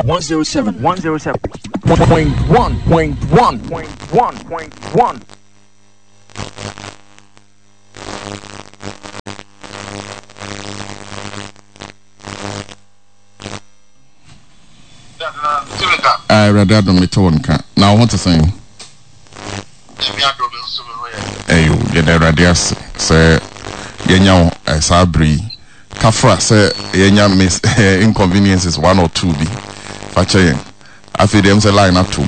107 107 point 1 point 1 point 1. Awurade adom mete wo nka na wo ho te sɛn? Ɛyo, yɛda Awurade ase sɛ yɛanya wo eh, saa bere yi. Kafra sɛ yɛanya miss eh, inconveniences one or two bi. Fa kyɛ yɛn. Afei deɛ m sɛ line atom.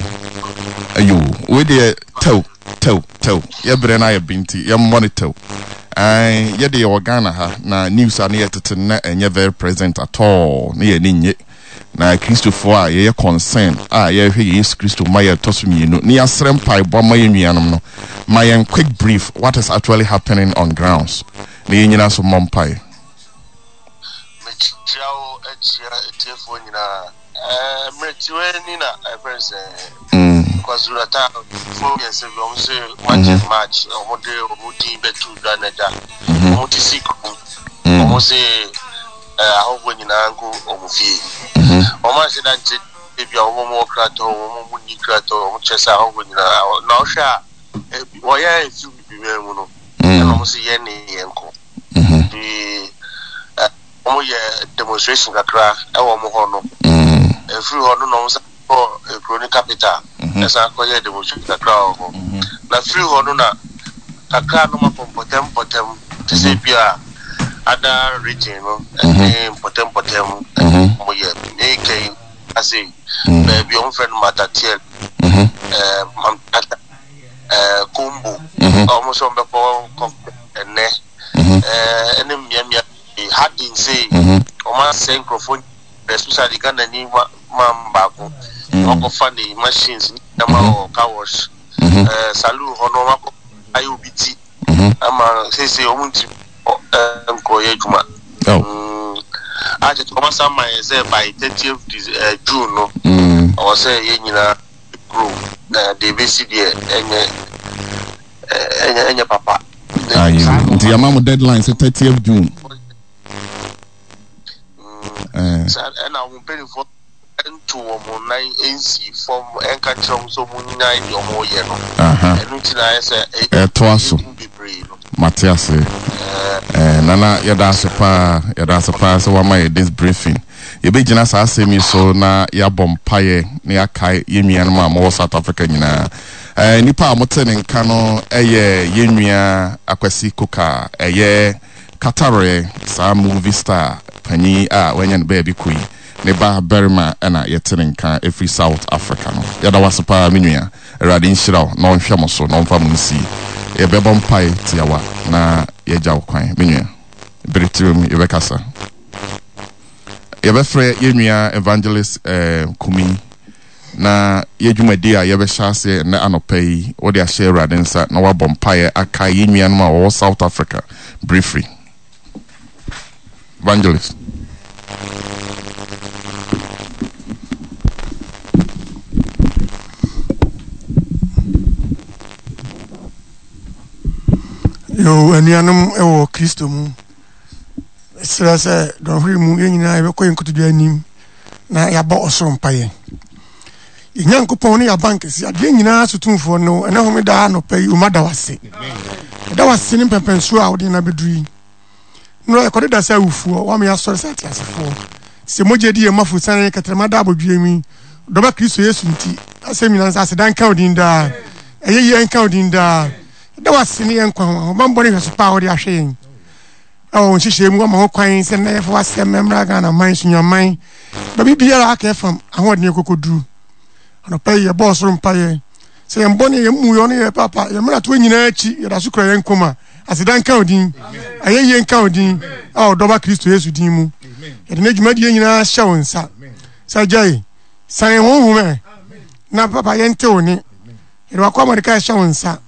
Ɛyo, wei deɛ tɛw tɛw tɛw. Yɛbrɛ no ayɛ bi nti yɛmmɔ no tɛw. Ɛn, yɛde yɛwɔ Ghana ha na news a ne yɛtete no na ɛnyɛ very present at all ne yɛn ani nnye. Na Kristofoɔ a yɛyɛ concern a yɛrehwɛ Yesu Kristo ma yɛtɔ so mmienu ne yɛasrɛ mpaebɔ ama yɛn nuanom no, ma yɛn quick brief what is actually happening on grounds na yɛn nyina so mmɔ mpae. Mekyia wo akyia atiefoɔ nyinaa. Ɛɛ mmerɛ tiwaa ni na ɛfrɛ no sɛ KwaZulu Natal foɔ mmiɛnsa bi wɔn se March and March wɔn de wɔn din bɛto dwa na agya wɔn ti si kurom wɔn se ahɔhoɔ nyinaa nkɔ wɔn fie. Wɔn anhyɛ da nkyerɛ ebi a wɔn wɔ krataa wɔn wɔn nni krataa wɔn kyerɛ sɛ ahɔhoɔ nyinaa na ɔhwɛ a wɔyɛ efi bibi mu no ɛna wɔn se yɛn ne yɛn kɔ. Nti wɔn yɛ demonstration kakra ɛwɔ wɔn hɔ no. Efiri hɔ no na wɔn san kɔ ekuro ne capital ɛsan kɔ yɛ demonstration kakra wɔ hɔ. Na firi hɔ no na kakra no ma kɔ mpɔtɛm mpɔtɛm te sɛ bi a ada region no ɛne mpɔtɛm mpɔtɛm wɔn yɛ ne kɛn ase baabi wɔn fɛ no Matatiel ɛɛ Mamtata ɛɛ Kombo wɔn nso wɔn bɛkɔ kɔ ɛnɛ ɛɛ ɛne mmeammea pii Harding sei wɔn asɛe nkurɔfoɔ especially Ghana ni man baako wɔakɔfa ne machines ne nneɛma wɔ car wash ɛɛ saloon hɔ no wɔakɔ ayɛ obi ti ama seesei wɔn ntumi nkɔyɛ adwuma akyɛ wɔn asan ma yɛn sɛ by 30th June no ɔwɔ sɛ yɛn nyinaa kurom na deɛ ebesi deɛ ɛnyɛ ɛnyɛ ɛnyɛ papa. Ayo nti yɛama mo deadline sɛ 30th June. Ɛna wɔn mpanimfoɔ nto wɔn nan nsi fam nka nkyerɛ wɔn sɛ wɔn nyae deɛ wɔreyɛ no. Ɛno nti na ayɛ sɛ ɛtoa so. Bebree no. Mate ase. Eh, Nana yɛda ase paa yɛda ase paa sɛ wama yɛ this briefing. Yɛbɛgyina saa asɛm yi so na yɛabɔ mpaeɛ na yɛakae yɛn nuanom a wɔwɔ South Africa nyinaa. Eh, nipa a wɔte ne nka no yɛ yɛn nua Akwasi Koka, ɛyɛ Katarɛ, saa movie star panyin a wanya ne baabi kɔ yi, ne ba barima na yɛte ne nka ɛfiri South Africa no. Yɛda wo ase paa me nua. Awurade nhyira wo na ɔnhwɛ mo so na ɔmfa mo nsie. Yɛbɛbɔ mpae tiawa na yɛagya wo kwan me nua. Bere tirim yɛbɛkasa. Yɛbɛfrɛ yɛn nua Evangelist eh, Kumi na yɛ dwumadi a yɛbɛhyɛ aseɛ nnɛ anɔpa yi wode ahyɛ Awurade nsa na wabɔ mpaeɛ akae yɛn nuanom a wɔwɔ South Africa briefly. Evangelist. Yo, anuanom wɔ Kristo mu. Mesrɛ sɛ dɔnhwere mu yɛn nyinaa yɛbɛkɔ yɛn nkotodwe anim na yɛabɔ ɔsoro mpaeɛ. Yɛn Nyankopɔn ne yɛaban kɛse, adeɛ nyinaa so tumfoɔ no, ɛnɛ homeda anɔpa yi, oma da wase. Ɛda wase ne mpɛmpɛnsoɔ a wode yɛn abɛduru yi. Nnora yɛkɔde da sɛ awufoɔ, woama yɛasɔre sɛ ateasefoɔ. Sɛ mogya di yɛn mu afosane, kɛtrɛma da abodwoeɛ mu yi, dɔba Kristo Yesu nti, asɛm nyinaa nsa aseda nka wo din daa. Ɛyɛ yie nka wo din daa. Ɛda wase ne yɛn nkwa ho, ahobammɔ ne hwɛso pa a wode ahwɛ yɛn. Ɛwɔ wo nhyehyɛe mu, woama ho kwan sɛ nnɛ yɛfa w'asɛm mmra Ghana man, Sunyani baabi biara aka ɛfam ahoɔden akokoduru. Anɔpa yi yɛbɔ ɔsoro mpaeɛ sɛ yɛn bɔne, yɛn mmuyɔ ne yɛn papa, yɛn mmaratoɔ nyinaa akyi, yɛda so kura yɛn nkwa mu a, aseda nka wo din, ayɛyie nka wo din, a ɔdɔba Kristo Yesu din mu. Yɛde ne dwumadie nyinaa hyɛ wo nsa. Sɛ agya yi, san yɛn honhom ɛ, na papa yɛnte wo ne. Yɛde wakɔ Mordekai hyɛ wo nsa.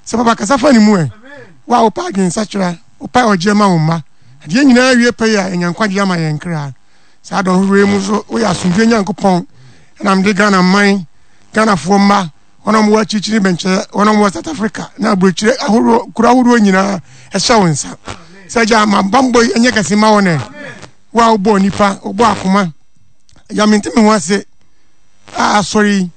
Sɛ papa kasa fa ne mu ɛ. Wo a wopɛ adwensakyera, wopɛ ɔgyeɛ ma wo mma. Adeɛ nyinaa wie pɛyɛ a, ɛnya nkwagyeɛ ama yɛn kra. Saa dɔnhwereɛ yi mu nso, woyɛ asomdwoeɛ Nyankopɔn. Ɛna mede Ghana man, Ghanafoɔ mma, wɔn a wɔwɔ akyirikyiri bɛnkyɛ, wɔn a wɔwɔ South Africa na aburokyire ahoroɔ, kuro ahodoɔ nyinaa ɛhyɛ wo nsa. Sɛ gya ma bammɔ yi ɛnyɛ kɛse ma wɔn ɛ. Wo a wobɔɔ nipa, wobɔɔ akoma. Agya, mente me ho ase a asɔre yi,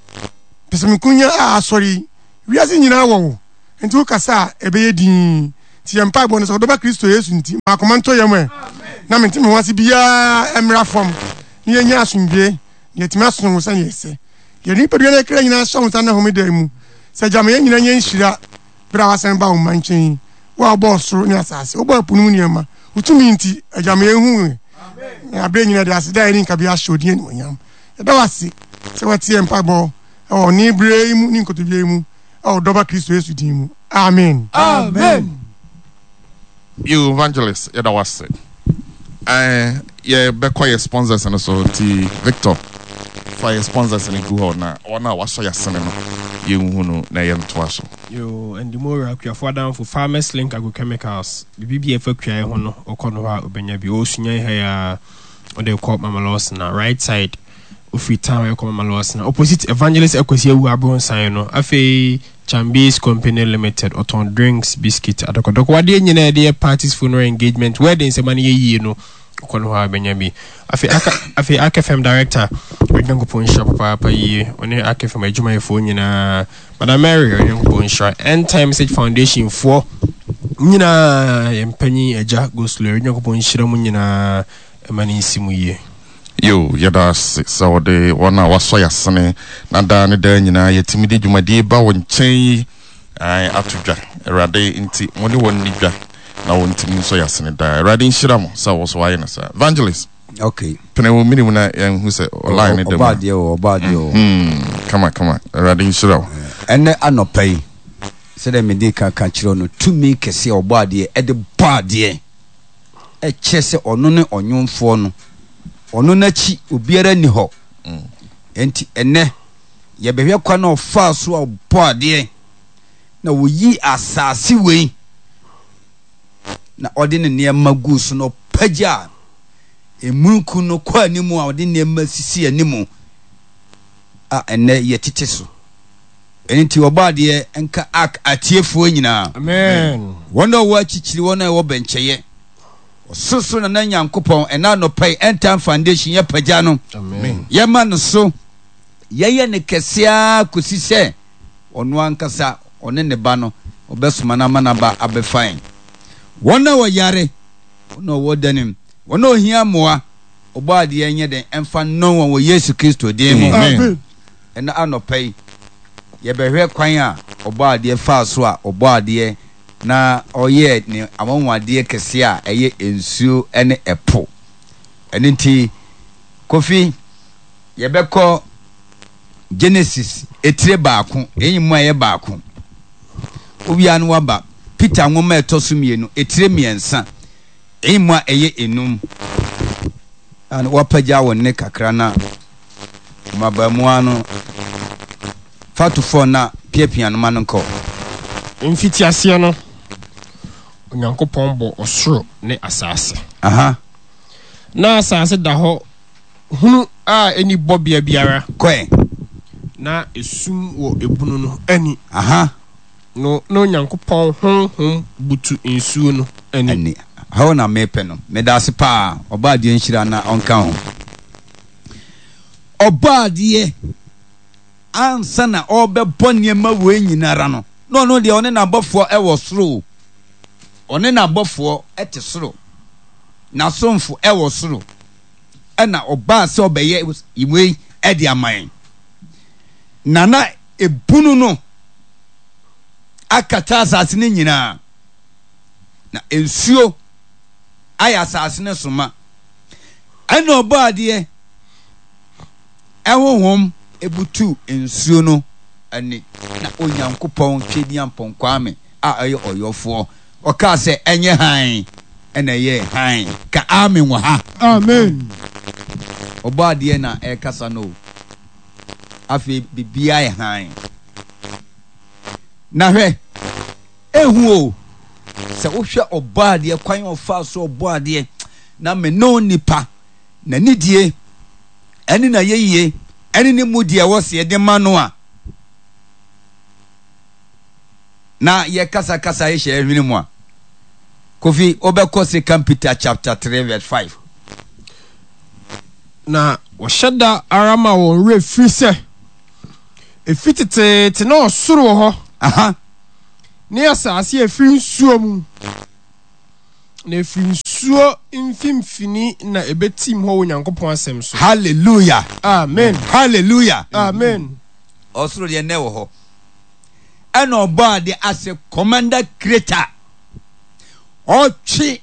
pɛsɛmenkonya a asɔre yi, wiase nyinaa wɔ wo, enti wokasa a ɛbɛyɛ dinn. Nti yɛn mpaebɔ no sɛ ɔdɔba Kristo Yesu nti, ma akoma ntɔ yam ɛ, na mente me ho ase biara mmra fam, na yɛnya asomdwoe, na yɛatumi asom wo sɛnea ɛsɛ. Yɛde nipadua ne kra nyinaa hyɛ wo nsa nnɛ homeda yi mu, sɛ Agya ma yɛn nyinaa nyɛ nhyira bere a woasan ba wo mma nkyɛn yi, wo a wobɔɔ ɔsoro ne asase, wobɔɔ ɛpo no mu nneɛma, wo tumi nti, Agya ma yɛnhu wo, na bere nyinaa de aseda a ɛne nkabea ahyɛ wo din animuonyam. Yɛda wo ase sɛ woatie yɛn mpaebɔ wɔ ɔne bere yi mu ne nkotodwe yi mu wɔ wo Dɔba Kristo Yesu din mu. Amen. Amen. You evangelist yɛda wo ase. Eh, yɛbɛkɔ yɛ sponsors no so nti Victor fa yɛ sponsors no gu hɔ na wɔn a wɔasɔ yɛ asene no yɛnhu no na yɛntoa so. Yoo, Ndimora, Akuafo Adamfo, Farmers Link Agrochemicals, biribi biara ɛfa kuayɛ ho no, wokɔ no hɔ a wobɛnya bi. Ɔwɔ Sunyani ha yi ara, wode kɔ Mama Lawson a, right side, wofiri town ɛkɔ Mama Lawson a, opposite Evangelist Akwasi Awu Abronsan no. Afei Chambies Company Limited, ɔtɔn drinks, biscuit, adɔkɔdɔkɔ, wadeɛ nyinaa yɛde yɛ parties, funeral, engagement, weddings, ɛma no yɛ yie no, wokɔ no hɔ a wobɛnya bi. Afei Aka, afei Ark FM Director, Onyankopɔn nhyira papaapa yie, ɔne Ark FM adwumayɛfoɔ nyinaa. Madam Mary, Onyankopɔn nhyira. End Time Message Foundation foɔ nyinaa, yɛn mpanyin agya Goslow, Onyankopɔn nhyira mu nyinaa, ɛma ne nsi mu yie. Yo, yɛda ase sɛ wɔde wɔn a wɔasɔ yɛn asene na daa ne daa nyinaa yɛtumi de dwumadie ba wo nkyɛn yi ae, ato dwa. Awurade nti, mo ne wɔn nni dwa na wɔntumi nsɔ yɛn asene daa. Awurade nhyira mo sɛ wo so woayɛ no saa. Evangelist. Okay. Pene wo mene mu na yɛnhu sɛ line ne da mu. Ɔbɔ adeɛ o, ɔbɔ adeɛ o. Mm, kama kama. Awurade nhyira wo. Ɛnɛ anɔpa yi, sɛdeɛ mede ka ka kyerɛ no, tumi kɛseɛ ɔbɔ adeɛ ɛde bɔ adeɛ ɛkyerɛ sɛ ɔno ne ɔnwomfoɔ no. Ɔno n'akyi obiara nni hɔ. Enti ɛnɛ yɛbɛhwɛ kwan a ɔfaa so a ɔbɔ adeɛ na wɔyi asase wei na ɔde ne nneɛma guu so na ɔpagyaa emununkum no kɔ anim a ɔde nneɛma sisi anim a ɛnnɛ yɛtete so. Ɛno nti ɔbɔ adeɛ nka ak atiefoɔ nyinaa. Amen. Wɔn a wɔwɔ akyikyiri, wɔn a ɛwɔ bɛnkyɛyɛ. Ɔsorosoro Nana Nyankopɔn, ɛna anɔpa yi, End Time Foundation yɛpagya no. Amen. Yɛma no so. Yɛyɛ no kɛse ara kɔsi sɛ ɔno ankasa, ɔne ne ba no, ɔbɛsoma no ama no aba abɛfa yɛn. Wɔn a wɔyare, wɔn a wɔwɔ dan mu, wɔn a wɔhia mmoa, Ɔbɔadeɛ nyɛ dɛn mfa nnɔn wɔn wɔ Yesu Kristo din mu. Amen. Ɛnnɛ anɔpa yi, yɛbɛhwɛ kwan a Ɔbɔadeɛ faa so a ɔbɔɔ adeɛ na ɔyɛɛ ne anwanwadeɛ kɛseɛ a ɛyɛ nsuo ne ɛpo. Ɛno nti, Kofi, yɛbɛkɔ Genesis etire baako, ɛyi mu a ɛyɛ baako. Wowia no waba Peter nwoma a ɛtɔ so mmienu, etire mmiɛnsa, ɛyi mu a ɛyɛ enum. A na wapagya wo nne kakra na mmabaamuwa no fa to fam na piapia no ma no nkɔ. Mfitiaseɛ no, Onyankopɔn bɔɔ ɔsoro ne asaase. Aha. Na asaase da hɔ hunu a enni bɔbea biara. Kɔe. Na esum wɔ ebunu no ani. Aha. No, na Onyankopɔn honhom butu nsuo no ani. Ani. Hɔ na mepɛ no. Medaase paa. Ɔbɔadeɛ nhyira na ɔnka ho. Ɔbɔadeɛ ansa na ɔrebɛbɔ nneɛma wei nyinara no, na ɔno deɛ ɔne n'abɔfoɔ wɔ soro o. Ɔne n'abɔfoɔ te soro. N'asomfo wɔ soro. Ɛna ɔbaa sɛ ɔbɛyɛ wei de ama yɛn. Na na ebunu no akata asase no nyinaa, na nsuo ayɛ asase no so ma. Ɛna ɔbɔɔ adeɛ ɛhohom ebutu nsuo no ani, na Onyankopɔn Tweaduampɔn Kwame a ɔyɛ ɔyɔfoɔ, ɔkaa sɛ ɛnyɛ hann. Ɛna ɛyɛɛ hann. Ka amen wɔ ha. Amen. Ɔbɔadeɛ na ɛrekasa no o. Afei biribiara yɛ hann. Na hwɛ, ehu o, sɛ wohwɛ ɔbɔadeɛ kwan a ɔfaa so ɔbɔadeɛ na me ne wo nipa, n'anidie ɛne n'ayɛyie ɛne ne mudi a ɛwɔ sɛ yɛde ma no a, na yɛkasakasa yɛhyɛ yɛn hwene mu a, Kofi, wobɛkɔ Second Peter chapter 3 verse 5. Na Wɔhyɛ da ara ma wɔn werɛ firi sɛ, efi teteete na ɔsoro wɔ hɔ. Aha. Ne asase a ɛfiri nsuo mu, na ɛfiri nsuo mfimfini na ɛbɛtim hɔ wɔ Onyankopɔn asɛm so. Hallelujah. Amen. Hallelujah. Amen. Ɔsoro deɛ nnɛ wɔ hɔ. Ɛna ɔbɔ adeɛ as a commander creator. Ɔtwe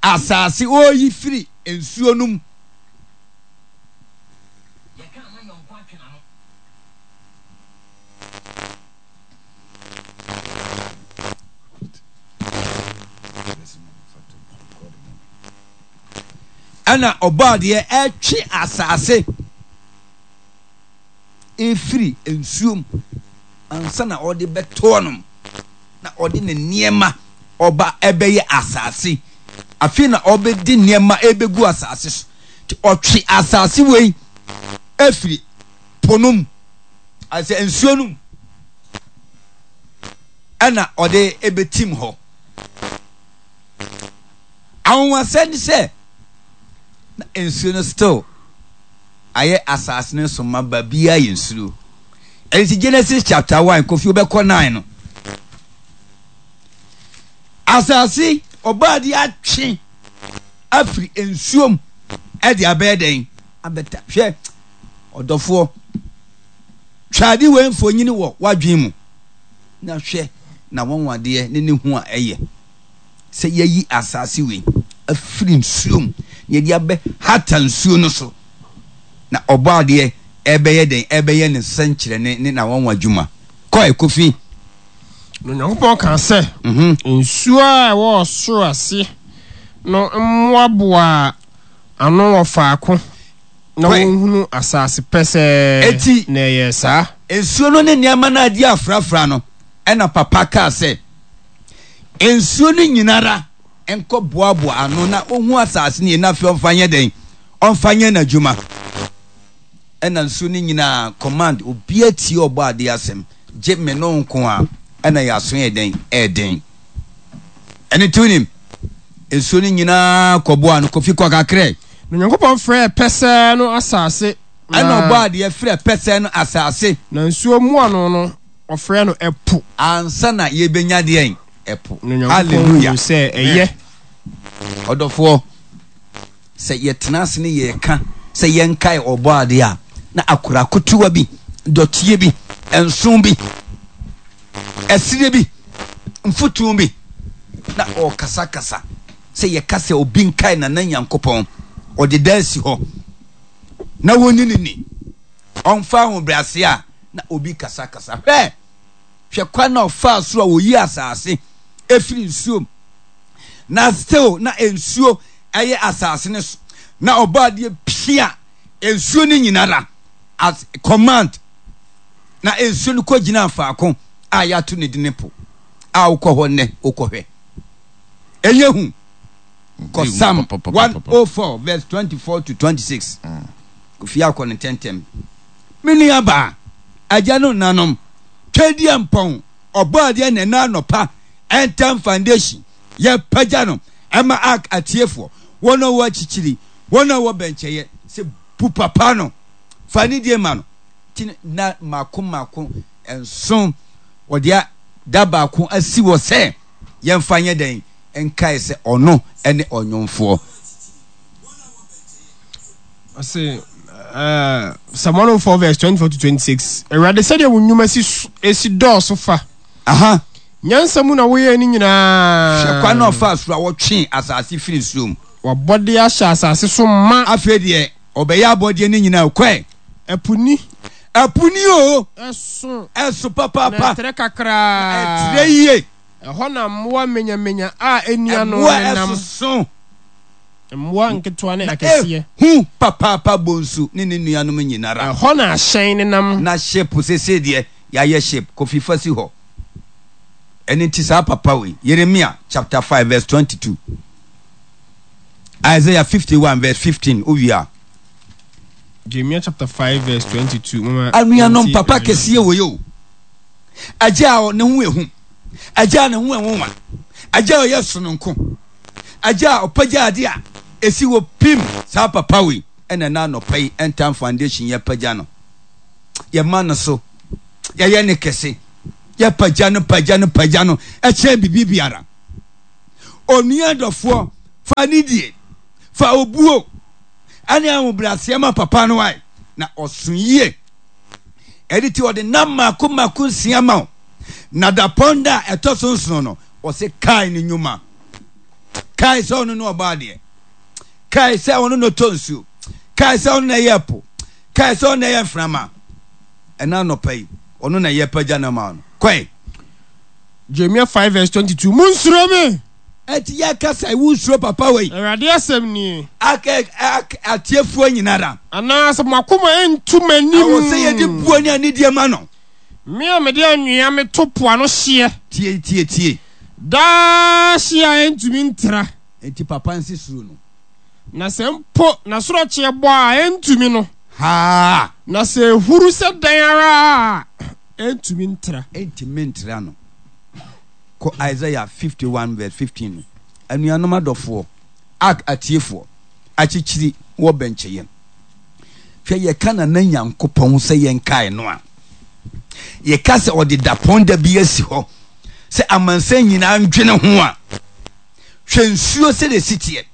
asase ɔyi firi nsuo no mu. Ɛna ɔbɔadeɛ ɛtwe asase ɛfiri nsuo mu ansa na ɔde bɛtoɔ nom na ɔde ne nneɛma ɔba ɛbɛyɛ asase afei na ɔbɛdi nneɛma ɛbɛgu asase so nti ɔtwe asase wei ɛfiri po no mu asɛ nsuo no mu ɛna ɔde ɛbɛtim hɔ anwanwasɛm ne sɛ na nsuo no still ayɛ asase no so ma baabiara yɛ nsuo ɛnti Genesis chapter 1 kofi wobɛkɔ 9 no asase ɔbaade atwe afiri nsuo mu ɛde abɛyɛ dɛn abɛta hwɛ Ɔdɔfoɔ, twa ade wei mfonini wɔ w'adwene mu na hwɛ n'anwanwadeɛ ne ne hu a ɛyɛ sɛ yɛayi asase wei afiri nsuo mu na yɛde abɛhata nsuo no so na Ɔbɔadeɛ ɛrebɛyɛ dɛn? Ɛrebɛyɛ ne nsɛnkyerɛnne ne n'anwanwa dwuma. Kɔe, Kofi. Na Onyankopɔn kaa sɛ, Nsuo a ɛwɔ ɔsoro ase no mmoaboa ano wɔ faako na wɔnhunu asase pɛsɛɛ, Enti, na ɛyɛɛ saa. Nsuo no ne nneɛma no a adi afrafra no, ɛnna papa kaa sɛ, Nsuo no nyina ara nkɔboaboa ano na ɔhu asase no yie, na afei ɔmfa nyɛ dɛn? Ɔmfa nyɛ n'adwuma. Ɛnna nsuo no nyinaa command, obiara tie Ɔbɔadeɛ asɛm, gye me ne wo nko ara, ɛnna yɛn aso yɛ dɛn? Ɛyɛ den. Ɛno nti wonim, nsuo no nyinaa kɔboaa no, Kofi kɔ kakrɛ. Na Onyankopɔn frɛɛ pɛsɛɛ no asase, na. Ɛnna ɔbɔɔ adeɛ frɛɛ pɛsɛɛ no asase. Na nsuo mmoano no, ɔfrɛɛ no ɛpo. Ansa na yɛbɛnya deɛn? Ɛpo. Na Onyankopɔn Hallelujah. hunuu sɛ ɛyɛ. Ɔdɔfoɔ, sɛ yɛtena ase ne yɛreka sɛ yɛnkae Ɔbɔadeɛ a, na akora ketewa bi, dɔteɛ bi, nso bi, ɛserɛ bi, mfutuo bi, na ɔrekasakasa. Sɛ yɛka sɛ obi nkae Nana Nyankopɔn, ɔde da asi hɔ na wɔnni no ni, ɔmfa ahobrɛase a, na obi kasakasa. Hwɛ! Hwɛ kwan a ɔfaa so a ɔyii asase firi nsuo mu, na still na nsuo ɛyɛ asase no so, na ɔbɔadeɛ pia nsuo no nyinara as command, na nsuo no kɔgyinaa faako a yɛato ne din po a wokɔ hɔ nnɛ wokɔhwɛ. Ɛnyɛ hu. Kɔ Psalm 104 verse 24 to 26. Kofi akɔ no ntɛntɛm. Me nua baa, agya no nanom, Twedeɛ mpɔn, ɔbɔ adeɛ na ɛna anɔpa, Ɛntɛm Foundation, yɛpagya no ɛma Ark atiefoɔ, wɔn a wɔwɔ akyikyiri, wɔn a wɔwɔ bɛnkyɛeɛ, sɛ bu papa no, fa anidie ma no. Ti na mako mako nson, wɔde da baako asi hɔ sɛ yɛmfa nyɛ dɛn nkae sɛ ɔno ne ɔnwomfoɔ. Ɔse, uh, Psalm 104 verse 24 to 26. Awurade sɛdeɛ wo nnwuma si, si dɔɔso fa. Aha. Nyansa mu na woyɛɛ ne nyinaa. Hwɛ kwan na ɔfaa soro a wɔtwee asase firi nsuo mu. Wabɔdeɛ ahyɛ asase so ma. Afei deɛ ɔbɛyɛ abɔdeɛ no nyinaa kɔɛ. Ɛpo ni. Ɛpo ni o. Ɛso. Ɛso papaapa. Na ɛtrɛ kakraa. Na ɛtrɛ yie. Ɛhɔ na mmoa manyamanya a enni ano nenam. Mmoa ɛsoso. Mmoa nketewa ne akɛseɛ. Na ehu papaapa bonsu ne ne nuanom nyinara. Ɛhɔ na ahyɛn nenam. Na ship seesei deɛ yɛayɛ ship Kofi fa si hɔ. Ɛno nti saa papa wei, Yeremia chapter 5 verse 22, Isaiah 51 verse 15, wowie a. Jeremiah chapter 5 verse 22. Mama, Anuanom papa kɛseɛ wɔ yɛ o. Agya a ne ho ehu, agya a ne ho nwonwa, agya a ɔyɛ sononko, agya a ɔpagya ade a esi hɔ pim saa papa wei. ɛna ɛna anɔpa yi End Time Foundation yɛpagya no. Yɛma no so. Yɛyɛ ne kɛse. Yɛpagya no, pagya no, pagya no ɛkyɛn biribi biara. Onua dɔfoɔ, fa anidie, fa obuo, ɛne ahobrɛaseɛ ma papa no ae, na ɔso yie. Ɛde ti ɔde nam mmaako mmaako nsia ma wo, na dapɔn da a ɛtɔ so nson no, ɔse kae ne nnwuma. Kae sɛ ɔno ne ɔbɔ adeɛ. Kae sɛ ɔno na ɔtɔ nsuo. Kae sɛ ɔno na ɛyɛ ɛpo. Kae sɛ ɔno na ɛyɛ mframa. Ɛna anɔpa yi, ɔno na yɛpagya no ma no. Kɔe. Jeremia 5 verse 22, Monsuro me! Ɛti yɛ kasa yi, wonsuro papa wei. Awurade asɛm nie. Ak ak atiefoɔ nyinara. Anaasɛ mo akoma ntu m'anim. Ɛwɔ sɛ yɛde buo ne anidie ma no. Me a mede anwea meto po ano hyeɛ. Tie tie tie. Daa hyeɛ a ɛntumi ntra. Enti papa nsi suro no. Na sɛ mpo n'asorɔkyeɛ bɔ a, ɛntumi no. Haa! Na sɛ ɛhuru sɛ dɛn ara a, ɛntumi ntra. Ɛntumi ntra no. Kɔ Isaiah 51 verse 15 no. Anuanom adɔfoɔ, Ark atiefoɔ, akyekyiri wɔ bɛnkyɛyɛ. Hwɛ yɛka Nana Nyankopɔn sɛ yɛnkae no a, yɛka sɛ ɔde dapɔn da bi asi hɔ sɛ amansan nyinaa ndwene ho a, hwɛ nsuo sɛdeɛ ɛsi teɛ.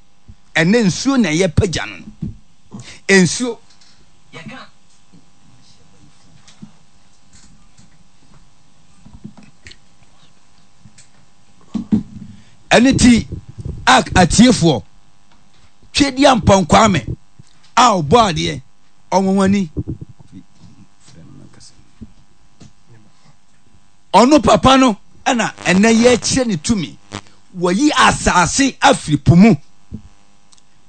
Ɛnɛ nsuo na ɛyɛ pagya no. Nsuo. Yɛka Ɛno ti ak atiefoɔ, Twedeampɔn Kwame a ɔbɔ adeɛ, ɔnwanwani. Ɔno papa no ɛna ɛnɛ yɛkyerɛ ne tumi. Wɔyi asase afiri po mu.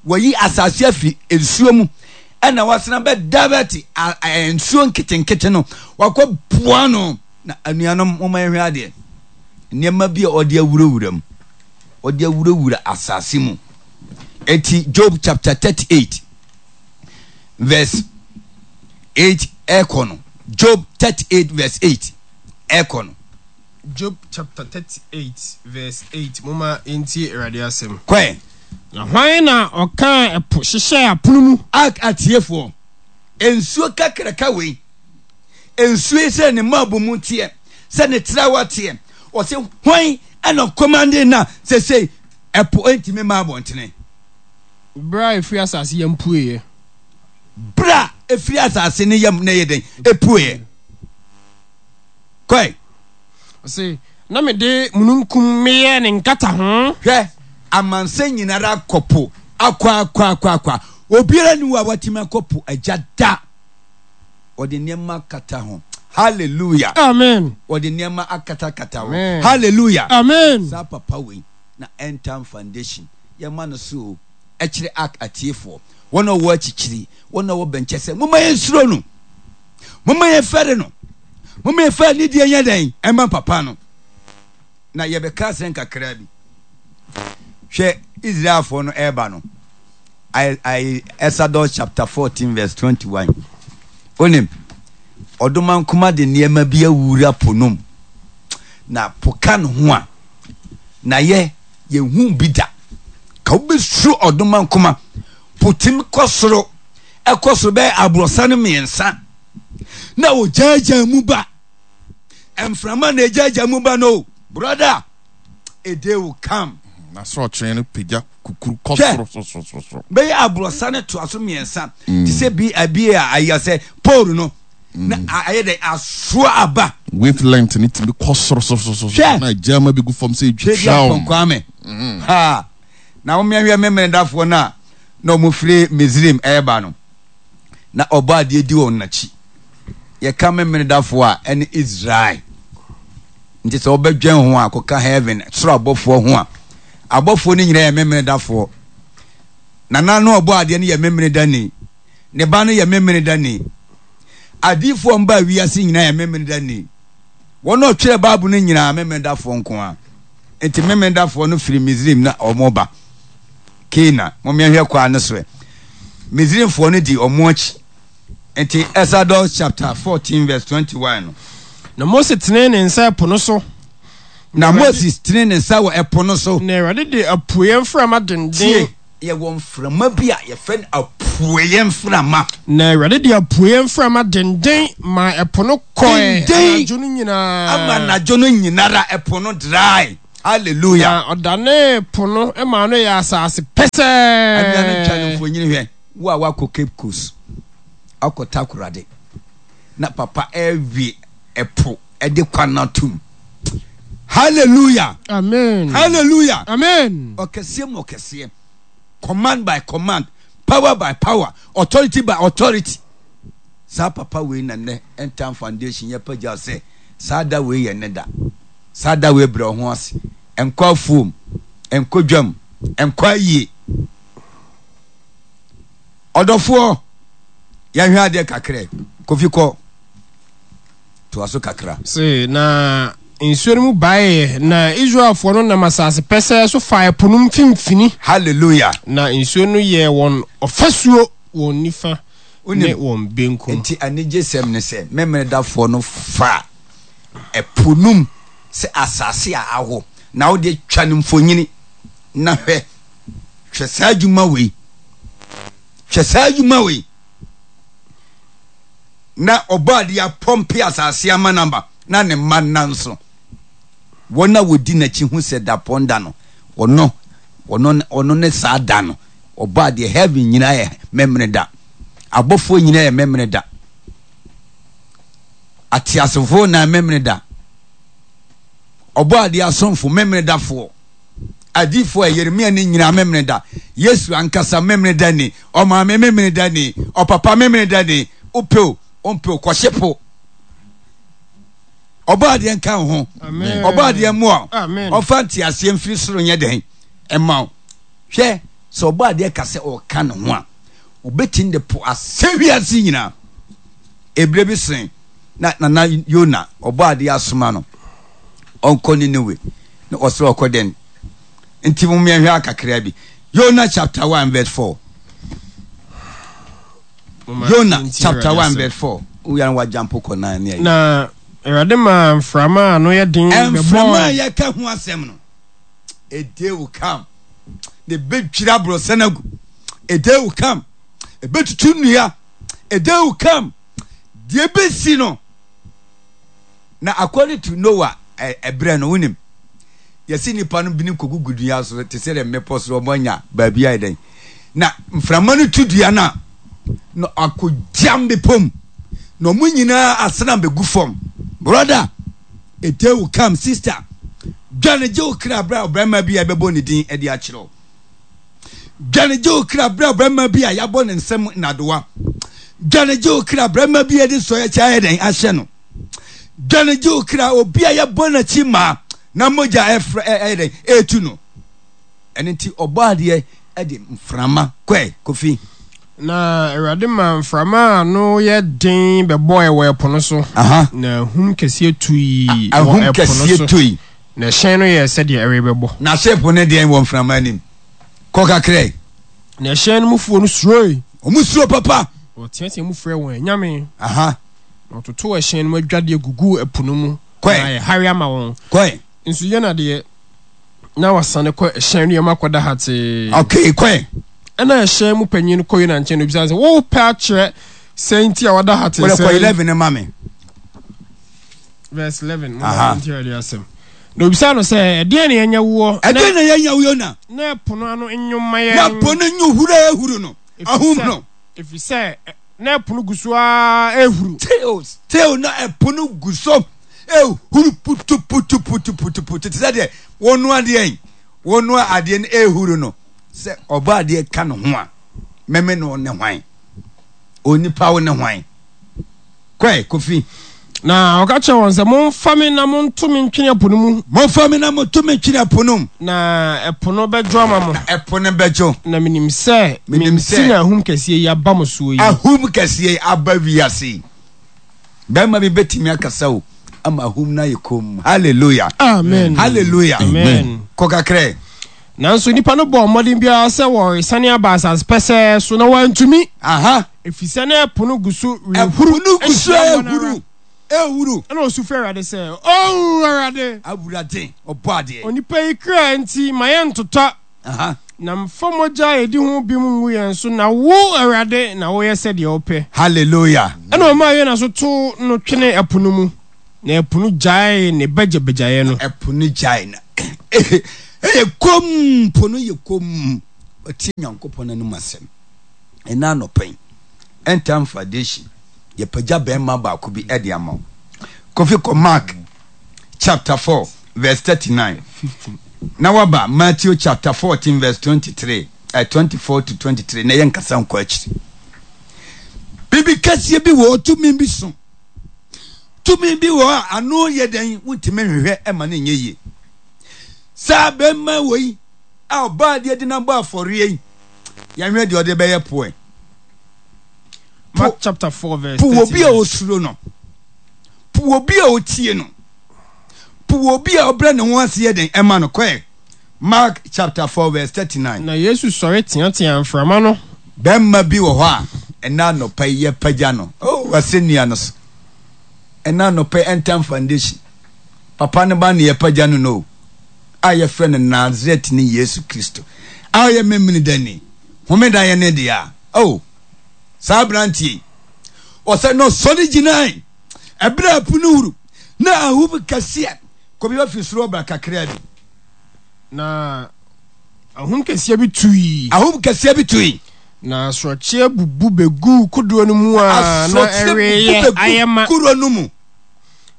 Wɔyi asase afiri nsuo mu. Ɛna wɔasena bɛ divert nsuo nketenkete no. Wakɔ boa no. Na anuanom, momma yɛnhwɛ adeɛ. Nneɛma bi a ɔde awurawura mu. Ɔde awurawura asase mu. Eti Job chapter 38 verse 8 ɛkɔ no. Job 38 verse 8 ɛkɔ no. Job chapter 38 verse 8 Momma yɛntie Awurade asɛm. Kɔɛ. Na hwan na ɔkaa ɛpo hyehyɛɛ apono mu? Ak atiefoɔ, nsuo kakraka wei. Nsuo yi sɛ ne mmabu mu teɛ, sɛ ne trawa teɛ. Ɔse hwan ɛna ɔkɔmande na sesei ɛpo ntumi mma abɔntene. Berɛ a ɛfiri asase yam pueɛ. Berɛ a ɛfiri asase ne yam na ɛyɛ dɛn ɛpueɛ. Kɔe. Ɔse na mede mununkum meyɛɛ ne nkataho. Hwɛ, amansan nyinara akɔ po akɔ akɔ akɔ akɔ. Obiara nni hɔ a watumi akɔ po agya da. Wɔde nneɛma akata ho. Hallelujah. Amen. Wɔde nneɛma akatakata ho. Amen. Hallelujah. Amen. Saa papa wei na End Time Foundation yɛma no so o. Ɛkyerɛ Ark atiefoɔ, wɔn a wɔwɔ akyikyiri, wɔn a wɔwɔ bɛnkyɛ sɛ momma yɛnsuro no. Momma yɛmfɛre no. Momma yɛmfa anidie nyɛ dɛn ɛma papa no. Na yɛbɛka asɛm kakraa bi. Hwɛ Israelfoɔ no ɛreba no. Exodus chapter 14 verse 21. Onim, ɔdomankoma de nneɛma bi awura po nom. Na po ka ne ho a, na yɛ yɛhu bi da. Ka wobɛsuro ɔdomankoma. Po tim kɔ soro, ɛkɔ soro bɛyɛ aborɔsa no mmiɛnsa. Na ogyaagyaa mu ba. Mframa na egyaagyaa mu ba no, brother, a day will come. Na sorɔkyee no pagya kukuru kɔ Hwɛ, soro soro soro soro. Bɛyɛ aborɔsa no toa so mmiɛnsa mm. te sɛ bi abi a ayɛ sɛ pole no mm. na ayɛ dɛ asoa aba. Wave length ne tumi kɔ soro soro soro soro. Hwɛ, na gyama bi gu fam sɛ edwitwa wɔn. Kwame. Mm. Ha na wɔn mmeahwɛ memenedafoɔ no a na wɔn firi Misrim ɛreba no na ɔbɔ adeɛ di wɔn n'akyi. Yɛka memenedafoɔ a ɛne Israel. Nti sɛ wobɛdwɛn ho a kɔka heaven soro abɔfoɔ ho a abɔfoɔ no nyinaa yɛ memenedafoɔ. Nana no ɔbɔ adeɛ no yɛ memenedani. Ne ba no yɛ memenedani. Adiifoɔ mbaa wiase nyinaa yɛ memenedani. Wɔn a ɔtwerɛ Bible no nyinaa memenedafoɔ nko ara. Nti memenedafoɔ no firi Misrim na wɔn ba Canaan. Mommɛhwɛ kwan no so ɛ. Misrimfoɔ no di wɔn akyi. Nti Exodus chapter 14 verse 21 no. Na Mose tenee ne nsa ɛpo no so. Na Moses tenee ne nsa wɔ ɛpo no so. Na Awurade de apueɛ mframa denden. Tie. Yɛwɔ mframa bi a yɛfrɛ no apueeɛ mframa. Na Awurade de apueeɛ mframa denden maa ɛpo no kɔe Denden anadwo no nyinaa. ama anadwo no nyinara ɛpo no drae. Hallelujah. Na ɔdanee po no maa no yɛɛ asase pɛsɛɛ. Anuanom twa no mfonini hwɛ, wo a woakɔ Cape Coast akɔ Takoradi na papa ɛrewe ɛpo ɛde kwan atom. Hallelujah. Amen. Hallelujah. Amen. Ɔkɛseɛ mu ɔkɛseɛ. Command by command, power by power, authority by authority. Saa papa wei na nnɛ End Time Foundation yɛ pagya sɛ saa da wei yɛ ne da. Saa da wei brɛ wo ho ase. Nkɔ afuom, nkɔ dwam, nkɔ ayie. Ɔdɔfoɔ, yɛnhwɛ adeɛ kakra. Kofi kɔ. Toa so kakra. Se, na nsuo no mu baeɛ, na Israelfoɔ no nam asase pɛsɛɛ so faa ɛpo no mfimfini. Hallelujah. Na nsuo no yɛɛ wɔn ɔfasuo wɔn nifa ne Wonim, wɔn benkum. enti anigyesɛm ne sɛ, Memenedafoɔ no faa ɛpo no mu sɛ asase a awo, na wo deɛ twa no mfonini na hwɛ. Hwɛ saa adwuma wei. Hwɛ saa adwuma wei. Na Ɔbɔadeɛ apɔmpe asase ama no aba, na ne mma nna nso. Wɔn a wɔdi n'akyi hu sɛ dapɔn da no, ɔno, ɔno, ɔno ne saa da no. Ɔbɔadeɛ, heaven nyinaa yɛ Memene da. Abɔfoɔ nyinaa yɛ Memene da. Ateasefoɔ na Memene da. Ɔbɔadeɛ asomfo, Memene dafoɔ. Adiyifoɔ a Yeremia ne nyinaa Memeneda, Yesu ankasa Memeneda ni, ɔmaame Memeneda ni, ɔpapa Memeneda ni, wopɛ o, wompɛ o, kɔhye po. Ɔbɔ adeɛ nka wo ho, ɔbɔ adeɛ mmoa wo, ɔmfa nteaseɛ mfiri soro nyɛ dɛn ɛma wo. Hwɛ, sɛ ɔbɔ adeɛ ka sɛ ɔka ne ho a, ɔbɛtumi de po asɛ wiase nyinaa. Ebire bi sen na nana Yona ɔbɔ adeɛ asoma no ɔnkɔ Ninewe na ɔsrɛ ɔkɔ dɛn nti mo mmiɛnhwɛ akakra bi Yona chapter 1 verse 4 Yona chapter 1 verse 4 woyɛ no wajampo kɔ nan ne ayi na Awurade maa mframa a ano yɛ den bɛbɔɔ mframa a yɛka ho asɛm no a day will come na ɛbɛdwiri aborɔsan agu a day will come ɛbɛtutu nnua a day will come deɛ ɛbɛsi no Na according to Noah ɛberɛ no, wonim, yɛse nnipa no binom kɔgugu dua so te sɛ deɛ mmepɔ so wɔn anya baabi ayɛ dɛn. Na mframa no tu dua no a, na akɔgyam bepɔ mu, na wɔn nyinaa asena bɛgu fam. Brother, a day will come, sister, dwane gye wo kra berɛ a ɔbarima bi a ɛbɛbɔ ne din de akyerɛ wo. Dwane gye wo kra berɛ a ɔbarima bi a yɛabɔ ne nsam nnadewa. Dwane gye wo kra barima bi a yɛde sɔeɛ kyɛ ayɛ dɛn ahyɛ no. Dwane gye wo kra obi a yɛbɔ n'akyi maa na mogya ɛfrɛ ɛyɛ dɛn ɛretu no. Ɛno nti ɔbɔ adeɛ ɛde mframa kɔɛ kofi. Na Awurade maa mframa a ano yɛ den bɛbɔe wɔ ɛpo no so, na ahum kɛseɛ tui wɔ ɛpo no so, na ɛhyɛn no yɛɛ sɛdeɛ ɛrebɛbɔ. Na ship no deɛn wɔ mframa anim? Kɔ kakra yi. Na ɛhyɛn no mufoɔ no suroe. Wɔn suro papa. Wɔteatea mu frɛɛ wɔn anyame. Na wɔtotoo ɛhyɛn no mu adwadeɛ guguu ɛpo no mu. Kɔe. Na ayɛ hare ama wɔn. Kɔe. Nso Yona deɛ, na wasane kɔ ɛhyɛn no yam akɔda hatee. Okay, kɔe. Ɛnna ɛhyɛn mu panyin no kɔɔ Yona nkyɛn na obisaa no sɛ, Worepɛ akyerɛ sɛn nti a wada hatee Wode sɛɛ kɔ yi? 11 no ma me. Verse 11, momma yɛntie Awurade asɛm. Na obisaa no sɛ, Ɛdeɛn na yɛnyɛ woɔ? Ɛdeɛn na yɛnyɛ wo, Yona? Na ɛpo no ano nnwo mma yɛn. Na po no nnwo huru a ɛhuru no, ahum no. Ɛfiri sɛ na ɛpo no gu so ara rehuru. Still, still na ɛpo no gu so rehuru putuputuputuputu te sɛ deɛ wɔnoa adeɛ wɔnoa adeɛ no rehuru no. Sɛ ɔbɔ adeɛ ka ne ho a, mɛmɛ no ne hwan? Onipa wo ne hwan? Kɔe, Kofi. Na ɔka kyerɛɛ wɔn sɛ, Momfa me na monto me ntwene ɛpo no mu. Momfa me na monto me ntwene ɛpo no mu. Na ɛpo no bɛdwo ama mo. Na ɛpo no bɛdwo. Na menim sɛ me nti na ahum kɛseɛ yi aba mo soɔ yi. Ahum kɛseɛ yi aba wiase yi. Barima bi bɛtumi akasa o ama ahum no ayɛ komm. Hallelujah. Amen. Hallelujah. Amen. Kɔ kakra. Nanso nnipa no bɔɔ mmɔden biara sɛ wɔresane aba asase pɛsɛɛ so, na wɔantumi. Aha. Efisɛ na ɛpo no gu so rehuru Ɛpo no gu so ahyia wɔn ara. rehuru, rehuru. Ɛnna osu frɛɛ Awurade sɛ, O Awurade! Awurade, Ɔbɔadeɛ. Onipa yi kra nti, ma yɛntotɔ. Aha. Na mfa mogya a ɛdi ho bem ngu yɛn so, na wo, Awurade, na woyɛ sɛdeɛ wopɛ. Hallelujah. Ɛnna ɔmaa Yona so too no twenee ɛpo no mu, na ɛpo no gyaee ne bagyabagyaeɛ no. Ɛpo no gyaee na ɛyɛ komm, po no yɛ komm. Watie Nyankopɔn anom asɛm. Ɛnnɛ anɔpa yi, End Time Foundation, yɛpagya bɛrima baako bi de ama wo. Kofi kɔ Mark chapter 4 verse 39. Na waba Matthew chapter 14 verse 23, eh, 24 to 23 na yɛ nkasa nkɔ akyiri. Biribi kɛseɛ bi wɔ tumi bi so. Tumi bi wɔ a ano yɛ dɛn wontumi nhwehwɛ ɛma no nyɛ yie. Saa bɛrima wɔ yi a ɔbaa deɛ de no abɔ afɔreɛ yi, yɛnhwɛ deɛ ɔde bɛyɛ poɛ. Mark chapter 4 verse 39. Po obi a osuro no. Po obi a otie no. Po obi a ɔbrɛ ne ho ase yɛ den ɛma no. Kɔɛ. Mark chapter 4 verse 39. Na Yesu sɔre teateaa mframa no. Bɛrima bi wɔ hɔ a ɛna anɔpa yi yɛpagya no. Oh, asɛnnua no so. Ɛna anɔpa yi End Time Foundation. Papa no ba ne yɛpagya no no. A yɛfrɛ no Nazaretni Yesu Kristo. A ɔyɛ Memenedani. Homeda yɛ ne dea. Oh, saa aberanteɛ yi. Ɔsɛ na ɔsɔre gyinae. Ɛberɛ a ɛpo no huru na ahum kɛseɛ kɔbi afiri soro ɔbra kakraa bi. Na ahum kɛseɛ bi tui. Ahum kɛseɛ bi tui. Na asorɔkyeɛ bubu bɛguu kodoɔ no mu a na ɛreyɛ ayɛ ma. Kodoɔ no mu.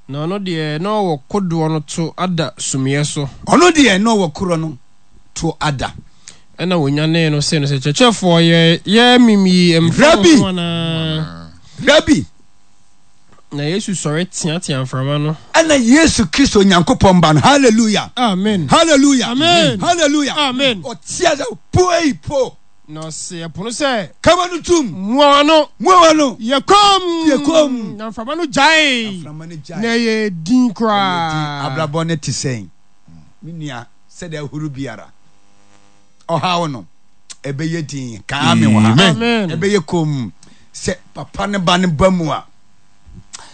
Na ɔno deɛ na ɔwɔ kodoɔ no to ada sumiiɛ so. Ɔno deɛ na ɔwɔ kodoɔ no to ada. Ɛnna wɔnyanee no see no sɛ, Kyerɛkyerɛfoɔ, yɛ yɛremem yi mfa wo ho anaa? Rabi! Na Yesu sɔre teateaa mframa no. Ɛnna Yesu Kristo, Onyankopɔn Ba no, hallelujah! Amen! Hallelujah! Amen! Hallelujah! Amen! Ɔteɛ sɛ, Puei po! Na ɔsee ɛpo no sɛ, Ka w'ano tom! Mua w'ano! Mua w'ano! Yɛ komm! Yɛ komm! Na mframa no gyaee. Na mframa no gyaee. Na ɛyɛɛ dinn koraa. Ɛyɛɛ dinn. Abrabɔ no te sɛn, me nua? Sɛdeɛ ahuru biara. Ɔhaw no, ɛbɛyɛ dinn. Ka amen wɔ ha. Amen. Ɛbɛyɛ komm. Sɛ papa ne ba no ba mu a,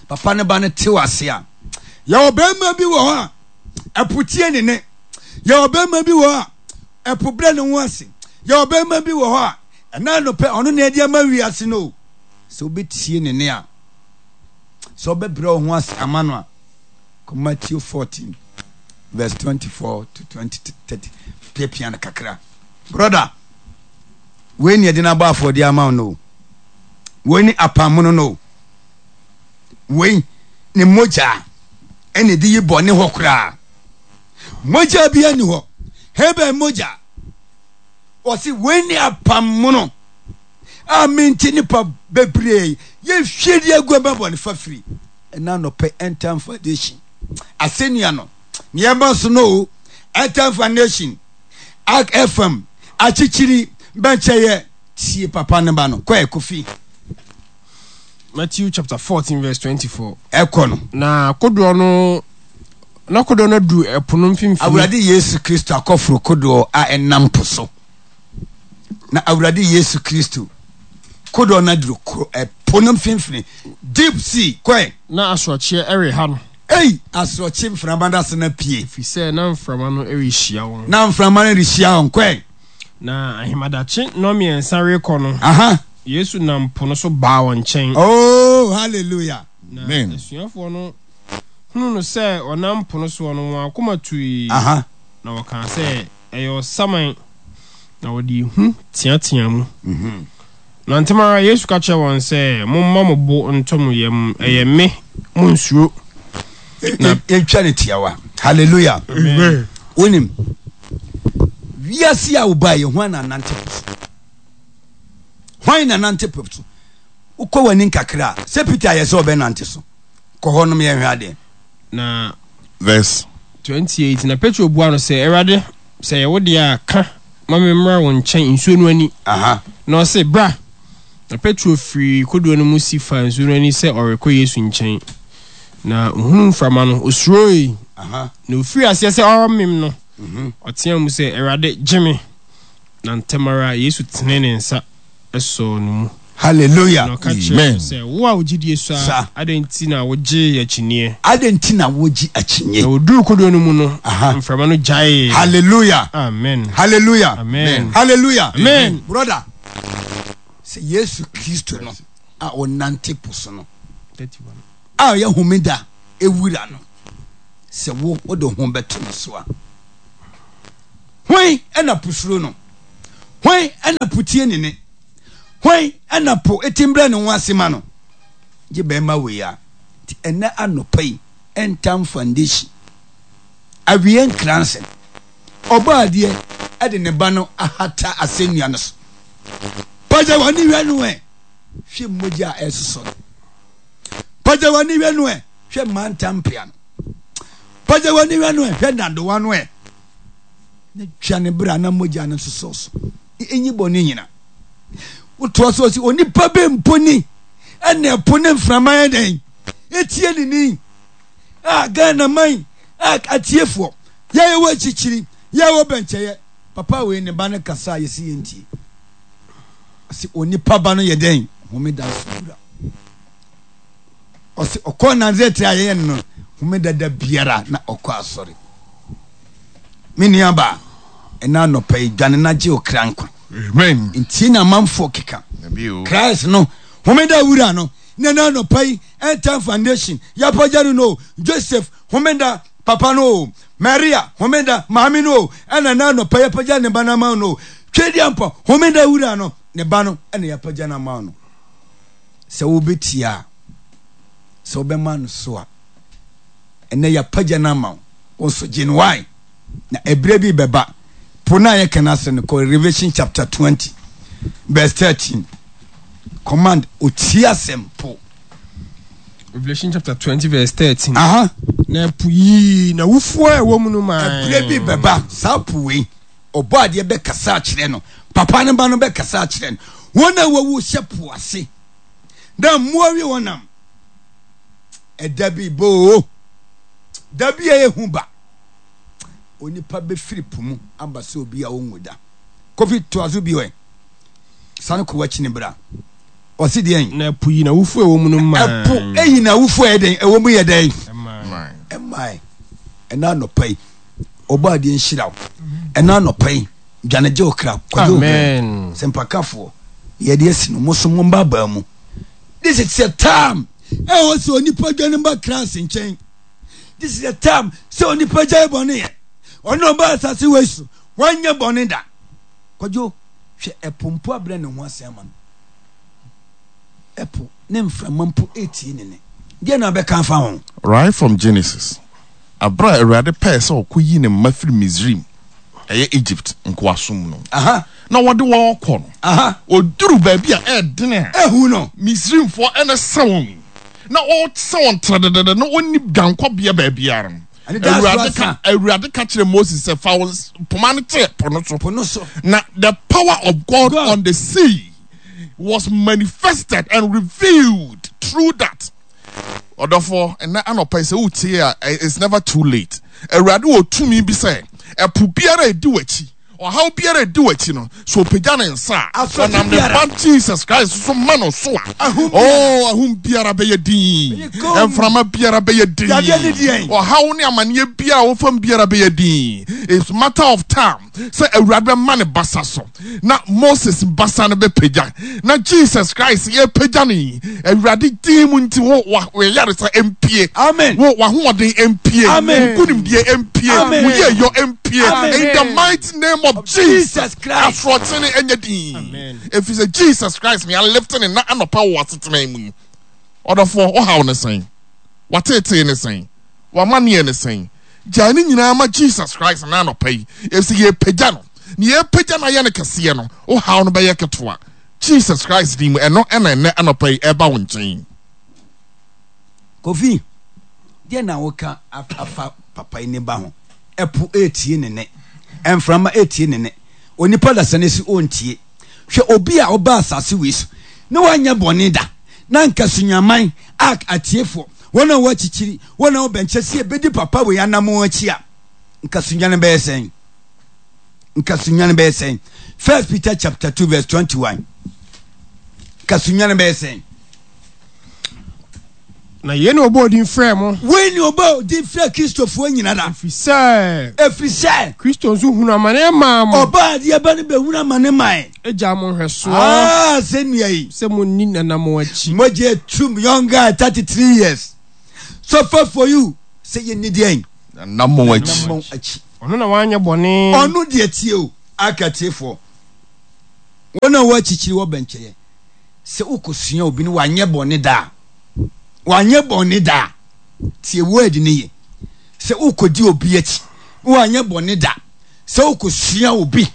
papa ne ba no te ase a, yɛwɔ bɛrima bi wɔ hɔ a, ɛpo tie ne ne. Yɛwɔ bɛrima bi wɔ hɔ a, ɛpo brɛ ne ho ase. Yɛwɔ bɛrima bi wɔ hɔ a, ɛna anɔpɛ ɔno na ɛde ama wiase no. Sɛ wobɛtie ne ne a, sɛ wobɛbrɛ wo ho ase ama no a, kɔ Matthew 14 verse 24 to 20 30 piapia no kakra. Brother, wei ne ɛde no abɔ afɔdeɛ ama wo no. Wei ne apammono no. Wei ne mogya ɛna ɛde yi bɔne hɔ koraa. Mogya bi ani hɔ. Hebel mogya. Wɔsi wei ne apammono a mente nipa bebree yɛhwie de agu ɛma bɔne fafiri. Ɛna anɔpɛ End Time Foundation asɛnnua no nneɛma so no o End Time Foundation Ark FM akyekyiri bɛnkyɛyɛ tie papa no ba no kɔ Kofi. Matthew chapter 14 verse 24. Ɛkɔ no. Na kodoɔ no na kodoɔ no aduru ɛpo no mfimfini. Awurade Yesu Kristo akɔforo kodoɔ a ɛnam po so. Na Awurade Yesu Kristo kodoɔ no aduru ɛpo no mfimfini. Deep sea kɔɛ. Na asorɔkyeɛ reha no. Ei, asorɔkye mframa no ase na pie. Ɛfiri sɛ na mframa no rehyia wɔn. Na mframa no rehyia wɔn kɔɛ. Na ahemadakye nnɔnmiɛnsa rekɔ no, Aha. Yesu nam po no so baa wɔn nkyɛn. Oh, hallelujah. Na Amen. asuafoɔ no hunuu no sɛ ɔnam po no soɔ no, wɔn akoma tui, Aha. na wɔkaa sɛ, Ɛyɛ ɔsaman. Na wɔde ehu teateaa mu. Na ntɛm ara Yesu ka kyerɛɛ wɔn sɛ, Momma mo bo ntɔ mo yam, ɛyɛ me, monnsuro. Na Yɛntwa no tiawa. Hallelujah. Amen. Wonim, wiase a wobaa yɛ hwan na anante po so? Hwan na nante po so? Wokɔ w'ani nkakra a, sɛ Peter ayɛ sɛ ɔbɛnante so. Kɔ hɔ nom yɛnhwɛ adeɛ. Na Verse. 28 na Petro buaa no sɛ, Awurade, sɛ ɛyɛ wo deɛ a, ka ma memmra wo nkyɛn nsuo no ani. Aha. Na ɔse, Bra! Na Petro firii kodoɔ no mu si faa nsuo no ani sɛ ɔrekɔ Yesu nkyɛn. Na ɔhunuu mframa no, ɔsuroe. Aha. Na ɔfirii aseɛ sɛ ɔremem no, ɔteaa mu sɛ, Awurade, gye me! Na ntɛm ara Yesu tenee ne nsa sɔɔ no mu. Hallelujah. Na ɔka kyerɛɛ Amen. no sɛ, Wo a wo gyidie sua, Sa. adɛn nti na wogyee akyinnyeɛ? Adɛn nti na wogye akyinnye? Na wɔduruu kodoɔ no mu no, Aha. mframa no gyaee. Hallelujah. Amen. Hallelujah. Amen. Hallelujah. Amen. Brother, sɛ Yesu Kristo no a ɔnante po so no, 31. a ɔyɛ homeda ewura no, sɛ wo wode wo ho bɛto no so a, hwan na po suro no? Hwan na po tie ne ne? Hwan na po ti mbrɛ ne ho ase ma no? Gye bɛrima wei a. Nti ɛnɛ anɔpa yi, Ntam Foundation, awie nkransɛm, Ɔbɔadeɛ de ne ba no ahata asɛnnua no so. Pagya w'ani hwɛ no ɛ, hwɛ mogya a ɛresosɔ no. Pagya w'ani hwɛ no ɛ, hwɛ mmantampea no. Pagya w'ani hwɛ no ɛ, hwɛ nnadewa no ɛ. Na twa ne bra na mogya no nsosɔ so. Enyi bɔne nyina. Wotoa so ɔsi onipa bɛ mpo ni ɛna ɛpo ne mframa yɛ dɛn etie ne ni a Ghana man a atiefoɔ yɛ wɔ akyikyiri yɛ wɔ bɛnkyɛyɛ papa wei ne ba no kasa a yɛsi yɛn tie ɔsi onipa ba no yɛ dɛn homeda so wura ɔsi ɔkɔ Nazaret a yɛyɛ no homeda da biara na ɔkɔ asɔre. Me nuabaa, ɛna anɔpa yi, dwane na gye okra nkwa. Amen. Ntie na amanfoɔ keka. Christ no, homeda wura no, na ɛna anɔpa yi, End Time Foundation, yɛapagya no no, Joseph, homeda papa no o, Maria, homeda maame no o, ɛna ɛna anɔpa yɛapagya ne ba no ama no o, Twedeampɔ, homeda wura no, ne ba no, ɛna yɛapagya no ama no. Sɛ wobɛtie a, sɛ wobɛma no so a, ɛnɛ yɛapagya no ama wo wo nso gye no wae na ɛberɛ bi bɛba po no a yɛka no ase no kɔ Revelation chapter 20 verse 13 command ɔtie asɛm po. Revelation chapter 20 verse 13. Aha. Na ɛpo yii na wufuo a ɛwɔ mu no maa. Ɛberɛ bi bɛba saa po wei ɔbɔ adeɛ bɛkasa akyerɛ no papa no ba no bɛkasa akyerɛ no wɔn a wɔwu hyɛ po ase na mmoa wi wɔn nam Ɛda bi ba oo, da bi a ɛyɛ hu ba. Onipa bɛfiri po mu aba sɛ obi a ɔnwu da. Kofi toa so bio ɛ. Sane kɔ w'akyi ne bra. Ɔse deɛn? Na ɛpo yi n'awufoɔ a ɛwɔ mu no mae. Ɛpo eyi n'awufoɔ a ɛyɛ dɛn? Ɛwɔ mu yɛ dɛn? Ɛmae. Ɛna anɔpa yi, ɔbɔ adeɛ nhyira wo. Ɛna anɔpa yi, dwane gye wo kra. Kwadwo. Amen. Sɛ mpakafoɔ, yɛde asi no, mo so mo mba mu. This is a time ɛwɔ sɛ onipa dwane ba Christ nkyɛn. This is a time sɛ onipa gyae bɔne yɛ. Ɔno ɔba asase wei so, wanyɛ bɔne da. Kwadwo, hwɛ ɛpo mpo abrɛ ne ho ase ama no. Ɛpo ne mframa mpo etie ne ne. Deɛ na abɛka afa ho? Right from Genesis, Bere a Awurade pɛe sɛ ɔkoyi ne mma firi Misraim, ɛyɛ Egypt, nkoasom mu no, na ɔde wɔn rekɔ no, ɔduruu baabi a ɛyɛ den a Ehu no. Misraimfoɔ na ɛsɛ wɔn, na wɔresɛ wɔn terededede, na wɔnni dwankɔbea baabiara no, Awurade ka, Awurade ka kyerɛɛ Moses sɛ, Fa wo poma no kyerɛ po no so. Po no so. Na the power of God, God. on the sea was manifested and revealed through that. Ɔdɔfoɔ, ɛnnɛ anɔpa yi sɛ wotie a, it's never too late. Awurade wɔ tumi bi sɛ ɛpo biara a ɛdi w'akyi, ɔhaw biara a ɛdi w'akyi no, sɛ ɔpagya ne nsa a, ɔnam ne ba Jesus Christ so ma no so a, oh, ahum biara bɛyɛ din, mframa biara bɛyɛ din, ɔhaw ne amaneɛ biara a wofam biara bɛyɛ din. It's matter of time. sɛ Awurade bɛma ne basa so na Moses basa no bɛpagya na Jesus Christ yɛpagya no yi Awurade din mu nti wo wayaresa mpie. Amen. Wo wahoɔden mpie. Amen. Wo nkunimdie mpie. Amen. Wo yieyɔ mpie. Amen. In the mighty name of Jesus, Jesus Christ. Asorɔkye no ɛnyɛ din. Amen. Ɛfiri sɛ Jesus Christ ne alifte ne na anɔpa wɔ asetena mu yi. Ɔdɔfoɔ, wohaw ne sɛn? Wateetee ne sɛn? W'amanneɛ ne sɛn? Gyae ne nyinaa ma Jesus Christ nnɛ anɔpa yi, efisɛ yɛrepagya no. Nea yɛrepagya no ayɛ no kɛseɛ no, wo haw no bɛyɛ ketewa. Jesus Christ din mu, ɛno na ɛnnɛ anɔpa yi ɛreba wo nkyɛn. Kofi, deɛ na woka afa papa yi ne ba ho? Ɛpo retie ne nne, mframa retie ne nne, onipa dasani nso ɔntie. Hwɛ obi a ɔbaa asase wei so na wanyɛ bɔne da, na anka sunyaman, ark atiefoɔ, Wɔn a wɔakyikyiri, wɔn a wɔbɛn kyɛ sɛ yɛbɛdi papa wei anammɔn akyi a, nka sunyane bɛyɛ sɛn? Nka sunyane bɛyɛ sɛn? First Peter chapter 2 verse 21. Nka Sunyani bɛyɛ sɛn? Na yei na ɔbɔɔ din frɛɛ mo. Wei na ɔbɔɔ din frɛɛ Kristofoɔ nyinara. Ɛfiri sɛ. Ɛfiri sɛ. Kristo nso hunuu amane maa mo. Ɔbaa adeɛ ba no bɛhunu amane mae. Gyaa mo nhwɛsoɔ. Ah, sɛ nua yi. Sɛ monni n'anammɔn akyi. Mogya atum, young guy, 33 years. Suffer for you. Sɛ yɛnni deɛn? N'anammɔn akyi. N'anammɔn akyi. Ɔno na wanyɛ bɔne. Ɔno deɛ tie o, aka tiefoɔ. Wɔn a wɔakyikyiri wɔ bɛnkyɛeɛ. Sɛ wokɔsua obi no wanyɛ bɔne da a, wanyɛ bɔne da a, tie word no ye. Sɛ wokɔdi obi akyi na wanyɛ bɔne da, sɛ wokɔsua obi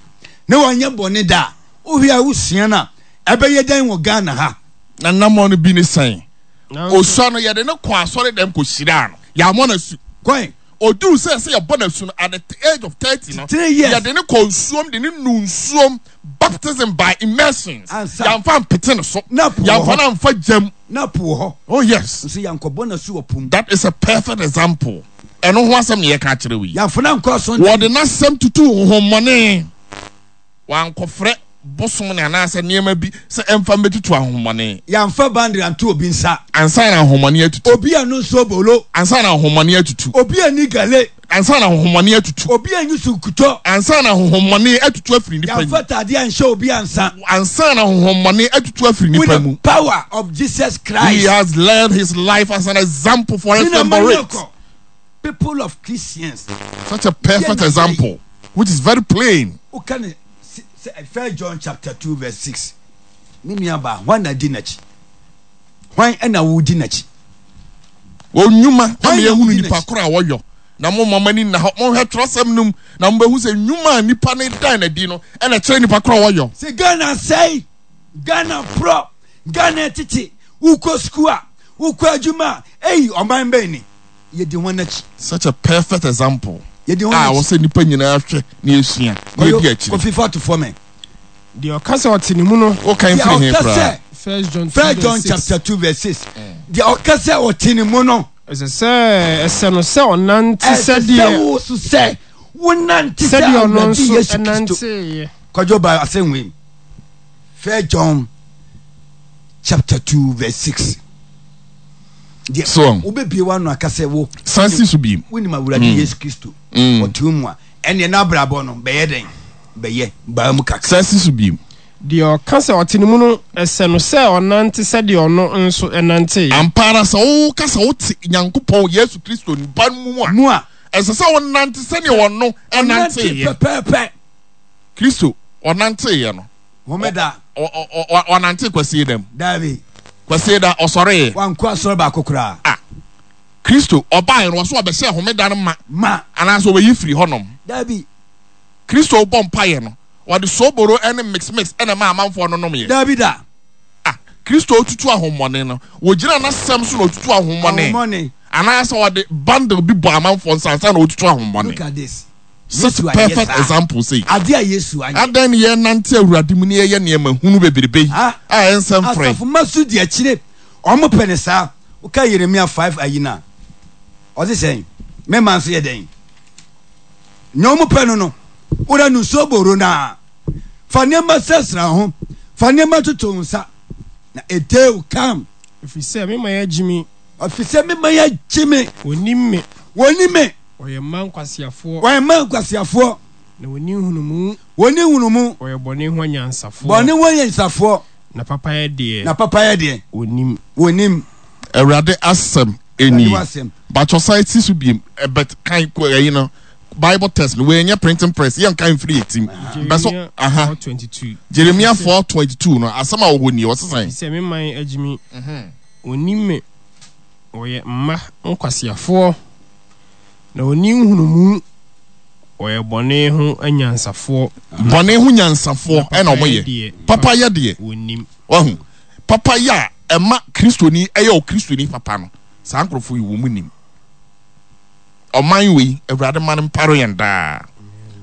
na wanyɛ bɔne da a, wohwɛ a wosua no a, ɛbɛyɛ dɛn wɔ Ghana ha? Na nnamɔ no bi ne sɛn? Osua no, yɛde no kɔɔ asɔredɛm kɔhyiraa no. Yɛammɔ no asu. Kwan. Oduu sɛ ɛsɛ yɛbɔ no asu no, at the age of 30 no, yɛde no kɔɔ nsuom de no nuu nsuom, baptism by immersions. Ansa. Yɛamfa ampete no so. Na po wɔ Yɛamfa hɔ. no amfa gyam. Na po wɔ hɔ. Oh yes. Nso yɛankɔbɔ no asu wɔ po mu. That is a perfect example. Ɛno ho asɛm na yɛka akyerɛ wo yi. Yɛamfa no ankɔ asɔndan mu. Wɔde n'asɛm tutuu honhommɔne. Wankɔfrɛ bosom no anaasɛ nneɛma bi sɛ ɛmfa mmɛtutu ahonhommɔne. Yɛamfa boundary anto obi nsa. Ansa na ahonhommɔne atutu. Obi annu nsuo bolo. Ansa na ahonhommɔne atutu. Obi anni gale. Ansa na ahonhommɔne atutu. Obi anyi so nkutɔ. Ansa na ahonhommɔne atutu afiri nnipa mu. Yɛamfa taadeɛ anhyɛ obi ansa. Ansa na ahonhommɔne atutu afiri With nnipa the mu. power of Jesus Christ. He has led his life as an example for us to emulate. People of Christians. Such a perfect example, which is very plain. Woka ne sɛ First John chapter 2 verse 6. Me nua baa, hwan na di n'akyi? Hwan na wodi n'akyi? Wɔn nnwuma ama yɛhunu nipa koro a wɔyɔ. Na momma mo ani nna hɔ, monhwɛ twerɛsɛm no mu, na mobɛhu sɛ nnwuma a nipa no dan no adi no na ɛkyerɛ nipa koro a wɔyɔ. Sɛ Ghana asɛe, Ghana porɔ, Ghana tete, wokɔ sukuu a, wokɔ adwuma a, ei, ɔman bɛn ni? Yɛdi hwan akyi? Such a perfect example Yɛdi hwan a akyi? ɛwɔ sɛ nnipa nyinaa hwɛ na yɛsua na yɛdi akyire. Kofi fa to fam ɛ. Deɛ ɔka sɛ ɔte ne mu no. Wokan Deɛ firi he ɔka koraa? sɛ First John 2 First verse John 6. chapter 2 verse 6. Deɛ ɔka sɛ ɔte ne mu no. Ɛsɛ sɛ ɛsɛ no sɛ ɔnante Ɛsɛ sɛ sɛdeɛ wo so sɛ wonante sɛ sɛdeɛ ɔno Awurade nso Yesu Kristo. nanteeɛ. Kwadwo ba asɛm wei mu. First John chapter 2 verse 6. Deɛ So wobɛbie w'ano aka sɛ wo san si so biem. wonim Awurade Yesu Kristo ɔte wo mu a, ɛnneɛ n'abrabɔ no bɛyɛ dɛn? Bɛyɛ baa mu kakra. San si so biem. Deɛ ɔka sɛ ɔte ne mu no, ɛsɛ no sɛ ɔnante sɛdeɛ ɔno nso nanteeɛ. Ampa ara sɛ woka sɛ wote Nyankopɔn, Yesu Kristo, Ba no mu a, Mu a. ɛsɛ sɛ wonante sɛdeɛ ɔno Ɔnante nanteeɛ. pɛpɛɛpɛ. Kristo, ɔnanteeɛ no. Homeda. Ɔnante Kwasieda mu. Daabi. Kwasieda, ɔsɔreeɛ. Wankɔ asɔre baako koraa. Ah, Kristo, ɔbaeɛ no, ɔso ɔbɛhyɛɛ homeda no ma. Ma. Anaasɛ ɔbɛyi firi hɔnom. Daabi. Kristo bɔ mpaeɛ no, ɔde sooboro ne mix mix na ɛmaa amanfoɔ no nomyɛ. Daabi da. Ah, Kristo retutu ahommɔne no, wɔgyina n'asɛm so na ɔtutu ahommɔne. Ahommɔne. Anaasɛ ɔde bundle bi bɔ amanfoɔ nsa ansa na ɔtutu ahommɔne. Look at this. Such Yesu anyɛ perfect saa. example sei. Adeɛ a Yesu anyɛ. Adɛn ne yɛnante Awurade mu na yɛyɛ nneɛma hunu bebrebe yi Ah, a ɛnsɛ mfrɛ? asafo mma so di akyire. Wɔn pɛ ne saa. Woka Yeremia 5 ayi no a, ɔse sɛn? Me man nso yɛ dɛn? Nea wɔn pɛ no no, wura no nsuo boro no a, fa nneɛma srasra ho, fa nneɛma toto wo nsa, na a day will come. Ɛfiri sɛ me man agye me. Ɛfiri sɛ me man agye me. Wɔnnim me. Wɔnnim me. Wɔyɛ mma nkwaseafoɔ. Wɔyɛ mma nkwaseafoɔ. Na wɔnni nhunumu. Wɔnni nhunumu. Wɔyɛ bɔne ho anyansafoɔ. Bɔne ho anyansafoɔ. Na papayɛ deɛ. Na papayɛ deɛ. Wɔnnim. Wɔnnim. Awurade asɛm nie. Bakyɛ san si so biem but kan ɛyi no Bible test no wei nyɛ printing press yɛn kan mfiri yɛ tim. Jeremia 4:22. Jeremia 4:22 no asɛm a wɔwɔ nie ɔsesan. Sɛ me man agye me, wɔnnim me, wɔyɛ mma nkwaseafoɔ, na wɔnni nhunumu, wɔyɛ bɔne ho anyansafoɔ. Bɔne ho nyansafoɔ ɛna wɔn yɛ. Papa yɛ deɛ. Wɔnnim. Wahu. Papayɛ a ɛma Kristoni yɛ Ɔkristoni papa no, saa nkurɔfoɔ yi, wɔn nim. Ɔman wei, Awurade ma no mpare yɛn daa.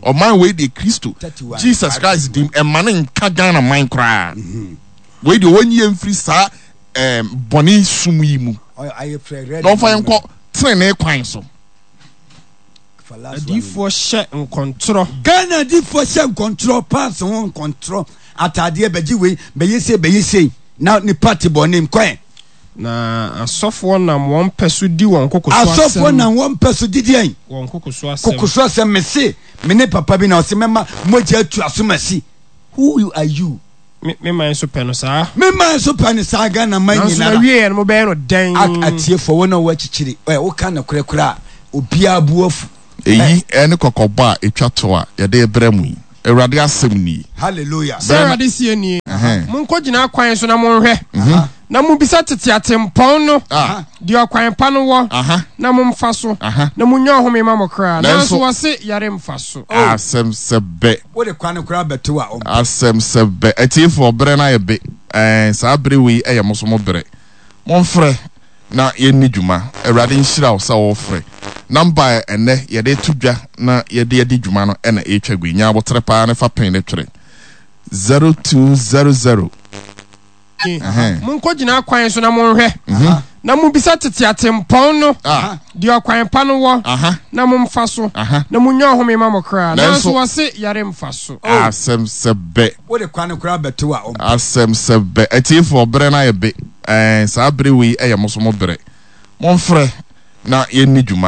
Ɔman wei deɛ Kristo, Jesus Christ dim, ɛma no nka Ghana man koraa. Wei deɛ wɔnyi yɛn mfiri saa ɛɛm bɔne sum yi mu. Na wɔmfa yɛn nkɔ tenenee kwan so. Adiyifoɔ hyɛ nkɔntorɔ. Ghana adiyifoɔ hyɛ nkɔntorɔ, pants ho nkɔntorɔ, ataadeɛ bɛgye wei, bɛyɛ sei, bɛyɛ sei. Na nipa te bɔne mu. Kɔɛ. Na asɔfoɔ nam wɔn pɛ so di wɔn koko so asɛm. Asɔfoɔ nam wɔn pɛ so di deɛn? Wɔn koko so asɛm. Koko so asɛm. Mese, me ne papa bi na ɔse mɛma mogya atu asomasi. Who are you? Me me man nso pɛ no saa. Me man nso pɛ no saa Ghana man Nanso nyinara. n'awieɛ no mobɛyɛ no dɛn? Ak atiefoɔ wɔn a wɔwɔ akyikyiri ɛ woka nokorɛ koraa a obiara bo afu. Eyi ne kɔkɔbɔ a etwa to a yɛde rebrɛ mo yi. Awurade asɛm nie. Hallelujah. Sɛ Awurade seɛ nie, Monkɔgyina akwan so na monhwɛ, na mommisa tete atempɔn no, deɛ ɔkwan pa no wɔ, na momfa so, na monnya ɔhome mma mo kra. Nanso wɔse, Yɛremfa so. Asɛm sɛ bɛ. Wode kwan koraa bɛto a ɔmpɛ. Asɛm sɛ bɛ. Atiefoɔ, berɛ no ayɛ be. Ɛɛ, saa bere wei yɛ mo nso mo berɛ. Momfrɛ na yɛnni dwuma. Awurade nhyira wo sɛ worefrɛ. Number a ɛnnɛ yɛde reto dwa na yɛde adi dwuma no na ɛretwa gu yi. Nya aboterɛ paa na fa pen no twerɛ. 0200. Monkɔgyina akwan so na monhwɛ, na mommisa tete atempɔn no, deɛ ɔkwan pa no wɔ, na momfa so, na monnya ɔhome mma mo kra. Nanso wɔse, Yɛremfa so. Asɛm sɛ bɛ. Wode kwan koraa bɛto a ɔmpɛ. Asɛm sɛ bɛ. Atiefoɔ, berɛ no ayɛ be. Ɛɛ, saa bere wei yɛ mo nso mo berɛ. Momfrɛ na yɛnni dwuma.